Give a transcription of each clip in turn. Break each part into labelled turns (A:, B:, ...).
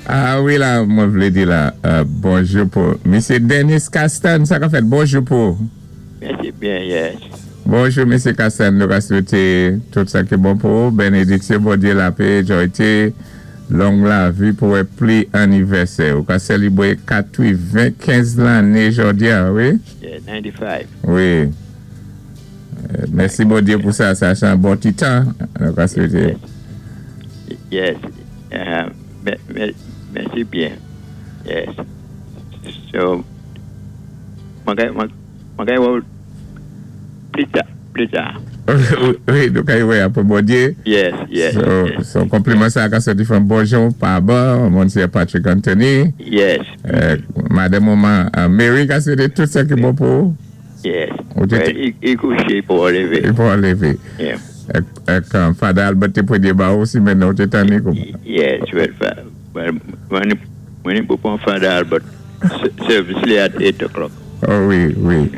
A: A wi la, mwen vlé di la, bonjou pou Misyé Dennis Castan, sa ka fèt, bonjou pou.
B: Mèsi byen, yes.
A: Bonjou, Misyé Castan, nou ka swété tout sa ki bon pou ou, bénédiksyon Bondyé, lapé, jòyté, long lavi pou wè pli annivèsè. Ou ka sélibwé 95 lanné jòdi-a, wi?
B: Yeah, 95.
A: Wi. Mèsi Bondyé pou sa, sa sé an bon ti tan, nou ka swété.
B: Yes, mèsi byen. Yes. So, mwen kay wè ou pli ta, pli ta.
A: Wi, nou kay wè apwé Bondyé.
B: Yes.
A: So, konpliman sa ka sòti from Bonjon pa ban, Monsiyè Patrick Anthony.
B: Yes.
A: Madanm ou Mary ka swété tout sa ki bon pou ou.
B: Yes. I kouché pou an lévé.
A: I pou an lévé.
B: Yeah.
A: Èk Father Albert té pwémyé ba ou si mennan ou té tanni kouman?
B: Yes, well, mwen ni pou pwan Father Albert service li at 8 o'clock.
A: Oh wi.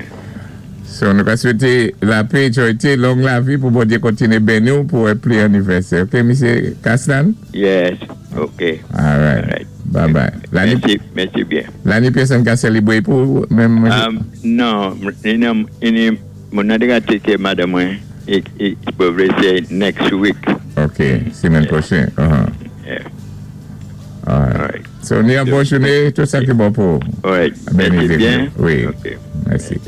A: So nou ka swété lapé, jòyté, long lavi pou Bondyé kontiné béni ou pou wè pli annivèsè. Ok, Misyé Castan?
B: Yes, ok.
A: All right. Bye bye.
B: Mèsi, mèsi byen.
A: Lanné pwosèn ka sélibwé pou menm?
B: Non, ini moun nan té ka take care madanm mwen, i probably say next week.
A: Ok, simenn pwochen.
B: Yeah.
A: All right. So, ni an bon jouné, tout sa ki bon pou.
B: All right. Mèsi byen.
A: Wi. Mèsi.